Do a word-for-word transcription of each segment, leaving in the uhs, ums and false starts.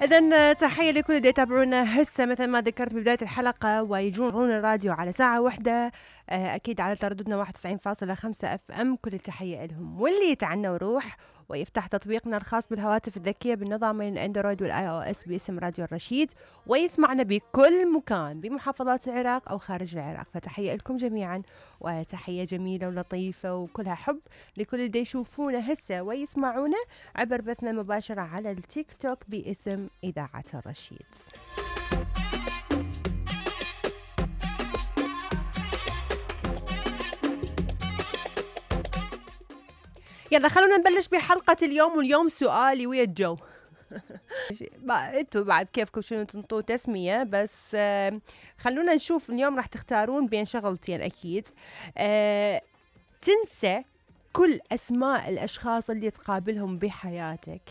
إذن تحية لكل اللي يتابعونا هسه مثل ما ذكرت ببداية الحلقة ويجون الراديو على ساعة واحدة، أكيد على ترددنا واحد وتسعين فاصلة خمسة اف ام. كل التحية لهم، واللي يتعنى وروح ويفتح تطبيقنا الخاص بالهواتف الذكية بالنظامين الاندرويد والاي او اس باسم راديو الرشيد، ويسمعنا بكل مكان بمحافظات العراق او خارج العراق. فتحية لكم جميعا، وتحية جميلة ولطيفة وكلها حب لكل اللي يشوفونا هسه ويسمعونا عبر بثنا المباشرة على التيك توك باسم إذاعة الرشيد. يلا خلونا نبلش بحلقة اليوم، واليوم سؤالي ويا الجو. انتوا بعد كيفكم شنو تنطوا تسمية، بس آه خلونا نشوف اليوم راح تختارون بين شغلتين اكيد. آه تنسى كل اسماء الاشخاص اللي تقابلهم بحياتك،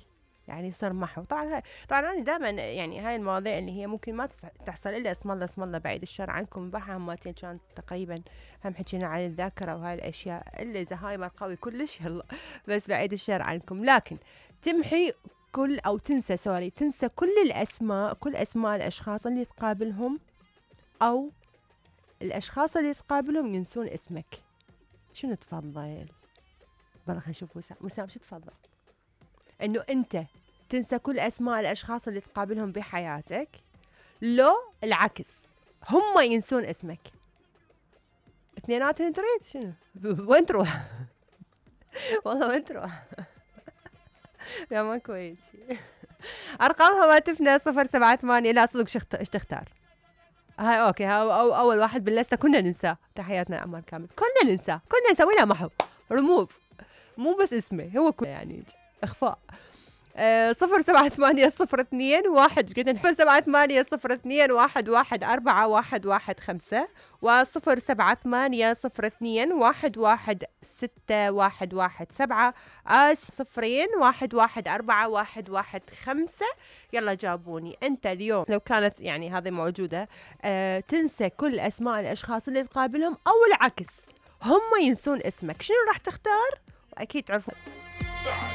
يعني سرمحوا. طبعا طبعا انا دائما يعني هاي المواضيع اللي هي ممكن ما تحصل الا اسم الله اسم الله بعيد الشر عنكم، بحها همتين كانت تقريبا هم حكينا عن الذاكره وهاي الاشياء اللي زهايمر قوي كلش يلا، بس بعيد الشر عنكم. لكن تمحي كل او تنسى سوري تنسى كل الاسماء كل اسماء الاشخاص اللي تقابلهم، او الاشخاص اللي تقابلهم ينسون اسمك. شنو تفضل؟ والله خلينا نشوف وسام. وسام شو تفضل؟ انه انت تنسى كل اسماء الاشخاص اللي تقابلهم بحياتك، لو العكس هم ينسون اسمك؟ اثنيناتهم تريد؟ شنو وين تروح؟ والله وين تروح؟ يا ما كويس. ارقام هواتفنا صفر سبعة ثمانية. لا صدق شخت... ايش تختار؟ هاي اوكي ها أو اول واحد باللسته كنا ننساه. تحياتنا عمار كامل. كنا ننساه كنا نسوي له محو ريموف، مو بس اسمه هو كل يعني اخفاء. آه صفر سبعة ثمانية صفر اثنين واحد قلنا صفر سبعة ثمانية صفر اثنين واحد واحد أربعة واحد واحد خمسة وصفر سبعة ثمانية صفر اثنين واحد واحد ستة واحد واحد سبعة آس صفرين واحد واحد أربعة واحد واحد خمسة. يلا جابوني انت اليوم لو كانت يعني هذه موجودة. آه تنسى كل اسماء الاشخاص اللي تقابلهم، او العكس هم ينسون اسمك، شنو راح تختار؟ واكيد تعرفون.